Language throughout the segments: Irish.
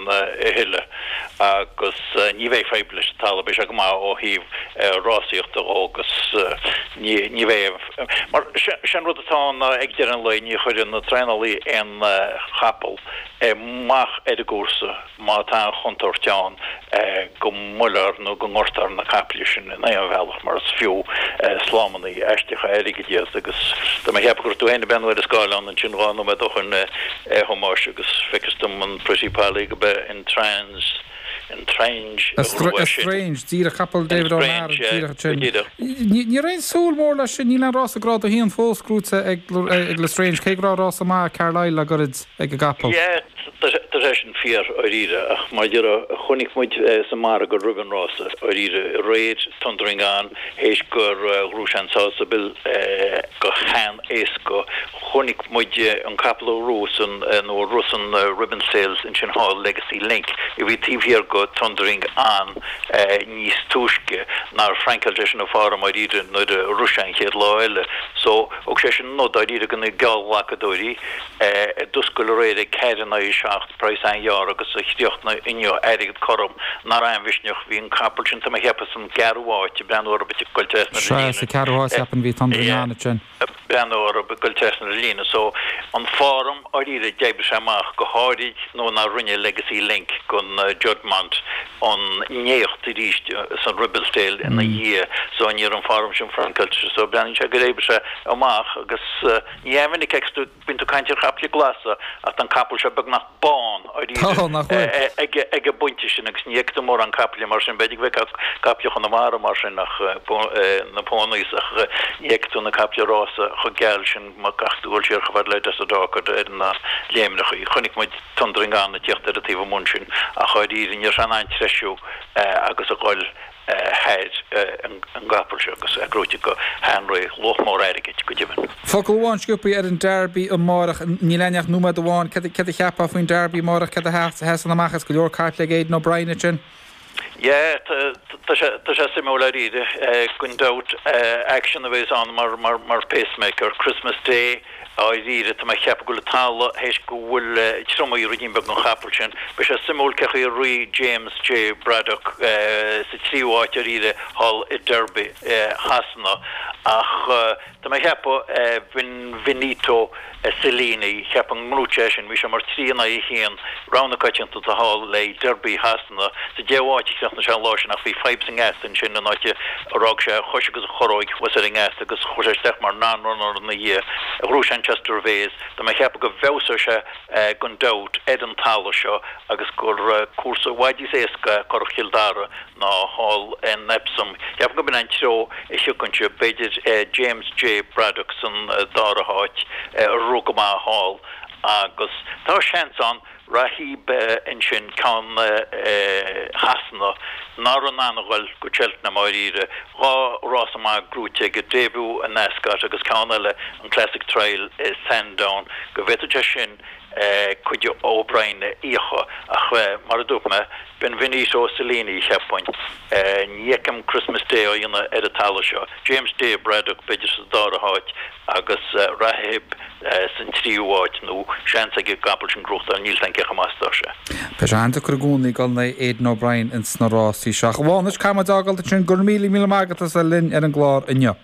a thuilleadh agus ní bheidh fadhb leis an talamh, beidh sé go maith ó thaobh rásaíochta dhó agus ní bheidh, mar sé an rud atá ann ná ag deireadh an lae ní chuireann na traenálaí aon chapall amach ar an gcúrsa má tá an chontúirt ann go mbuailfear nó go ngortófar na caiple sin in aon bhealach mar is fiú slámannaí aisteacha airgid iad agus tá mé a cheapadh go raibh tú féin ag breathnú ar an scáileán ansin 2 nóiméad ó shoin a Thomáis agus feictear dom an Pretty Polly go b'é an Trans an Estrange a ghnóthaigh é sin. Estrange, díreach, capall David O'Meara, díreach ansin. Ní raibh aon súil mór leis sin, níl aon rása Grád 1 fós gnóite ag L'Estrange, cé go raibh rása maith i Carlisle le goirid ag an gcapall. Yeah, tá sé sin fíor, dháiríre, ach mar a déarfá, chonaic muid sa margadh roimh an rása, dháiríre, aréir, Thundering On, théis gur ghnóthaigh sé an Sása Bill go han-éasca, chonaic muid an capall a ghnóthaigh san, nó a rith san Ribblesdale ansin thall, Legacy Link, a bhí taobh thiar go Thundering On níos túisce, nár fhrancáil sé sin an form dháiríre nuair a rith sé an chéad lá eile. So, thug sé sin nod dáiríre go na geallghlacadóirí a d'oscail aréir ag 4 in aghaidh 7, praghas an-ghearr agus a chríochnaigh inniu airgead cothrom, nach raibh aon mhisneach. Bhí an capall sin, tá mé a cheapadh, san gceathrú háit, ag breathnú orthu ag goil trasna na líne. Sea, sa cheathrú háit, cheapfainn, bhí Thundering On ansin. breathnú orthu ag goil trasna na líne so an form dháiríre d'oibrigh sé amach go háirid nuair nár rinne Legacy Link gon Juddmonte an n-éacht arís san Ribblesdale ina dhiaidh so ní raibh an form sin francáilte so breathnaíonn sé gur oibrigh sé amach agus ní an-mhinic a fheiceas tú bíonn tú ag caint ar chaiple glasa ach tá an capall seo beagnach bán Tá, nach bhfuil? ag an bpointe sin agus ní fheicfidh tú mórán caiple mar sin, b'fhéidir go bhfeicfeá caiple Chonamara mar sin ach na ponies ach ní fheicfidh tú na caiple rása chomh geal sin má caithfidh tú dul siar chomh fada le Desert Orchid ar na léimneachaí. Chonaic muid Thundering On ag tíocht ar an taobh amuigh ansin ach dháiríre ní raibh sé in ann treisiú agus a dhul thar an gcapall seo agus é gnóite go han-réidh, luach mór airgid, go deimhin. Focal amháin sciobtha ar an Derby amárach. Níl againn ach nóiméad amháin. Céard a cheapfá faoin Derby amárach? Céard a sheasann amach as go leor caiple ag Aidan O'Brien ansin? Yeah, tá sé suimiúil dáiríre. Gan dabht, aicsean a bheas ann mar pacemaker. Christmas Day. Dháiríre, tá mé a cheapadh go bhfuil an talamh théis go bhfuil triomaithe ruidín beag don chapall sin. Beidh sé suimiúil cé chaoi a rith James J. Braddock sa tríú háit dáiríre thall i Derby Shasana ach tá mé a cheapadh Benvenuto Cellini, cheapfainn go ngnóthóidh sé sin, bhí sé mar 3 in aghaidh 1, rogha na coitianta thall le Derby Shasana. Sa deichiú háit a chríochnaigh sé an lá sin ach bhí fadhb sa ngeata ansin an áit ar fhág sé a chois agus a chorróig thuas ar an ngeata agus chuaigh sé isteach mar non-runner ina dhiaidh. Ghnóthaigh sé an Chester Vase. Tá mé ag ceapadh go bhfeabhsóidh sé gan dabht ar an talamh seo agus gur cúrsa i bhfad níos éasca é Currach Chill Dara ná thall in Epsom. Cheapfainn go b'in an treo a thiocfainn anseo. B'fhéidir James J Braddock san dara háit a rith go maith thall agus tá seans ann Rahibe ansin, ceann Shasana nach raibh in ann a ghoil go Cheltenham dháiríre. 2 rása maith gnóite aige, debut in Ascot agus ceann eile, an Classic Trial i Sandown, go bhféadfadh sé sin cuid O'Brien a íocadh ach mar a dúirt mé, Benvenuto Cellini cheapfainn. Ní fheicim Christmas Day á dhéanamh ar an talamh seo. James J Braddock b'fhéidir sa dara háit agus Rahibe san tríú háit, nó seans ag an gcapall sin gnóthachtáil, níl 's a'm cé chomh maith is atá sé. Beidh sé an-deacair i gcónaí dul in aghaidh Aidan O'Brien ins na rásaí seo. Ach a Mhánais, caithfidh muid fhágáil ansin. Go raibh míle míle maith agat as a bheith linn ar an gclár inniu.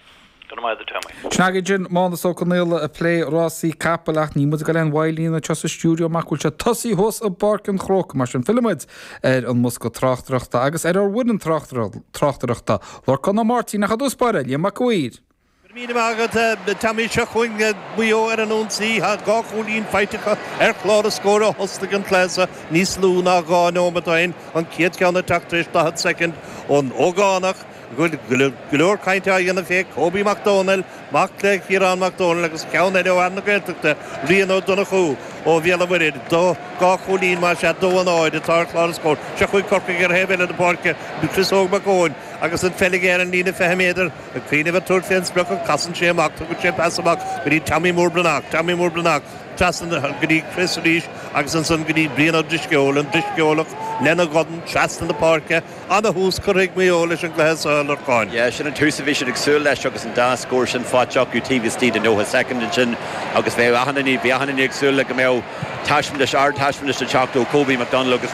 Go raibh maith agat, a Tommy. Sin againn sin Mánas Ó Conaola ag plé rásaí capaill ach níl muid ag dul aon mhoill anseo sa stiúideo amach go bhfuil sé tosaithe thuas i bPáirc an Chrócaigh. Mar sin fillfidh muid ar an mbosca tráchtaireachta agus ar ár bhfoireann tráchtaireachta, Lorcán Ó Máirtín ach i dtús báire, Liam Mac a' Mhaoir. Go raibh míle maith agat, Tommy. Seo chugainn Maigh Eo ar an ionsaí. Tá 2 chúilín faighte acu ar chlár na scór ó thosnaigh an cluiche seo níos lú ná 2 nóiméad ó shin. An chéad cheann ag teacht tar éis 40 soicind ón ógánach go bhfuil go leor cainte á dhéanamh fé, Kobe Mac Dónaill, mac le Ciarán Mac Dónaill agus ceann eile ó fhear na Gaeltachta, Rian Ó Donnchú ó Bhéal an Mhuirthead. 2 chúilín, más ea, 2-0 atá ar chlár na scór. Seo chugainn Corcaigh ar thaobh eile na páirce, Chris Óg Mac Eoin agus an pheil aige ar an líne 20 méadar. Ag cuimhneamh ar tabhairt fén sprioc ach casann sé amach, tugann sé pas amach go dtí Tommy Mór Breathnach, Tommy Mór Breathnach trasna go dtí Chris arís agus ansan go dtí Brian Ó Drisceoil, an Drisceolach lena dhorn trasna na páirce. Ana-thús curtha ag Maigh Eo leis an gcluiche seo, a Lorcáin. Yeah, sin an tús a bhí siad ag súil leis agus an dá scór sin faighte acu taobh istigh de 90 soicind ansin agus bheadh achan duine, bhí achan duine ag súil le go mbeadh taispeántas, ardtaispeántas ag teacht ó Kobe McDonald agus.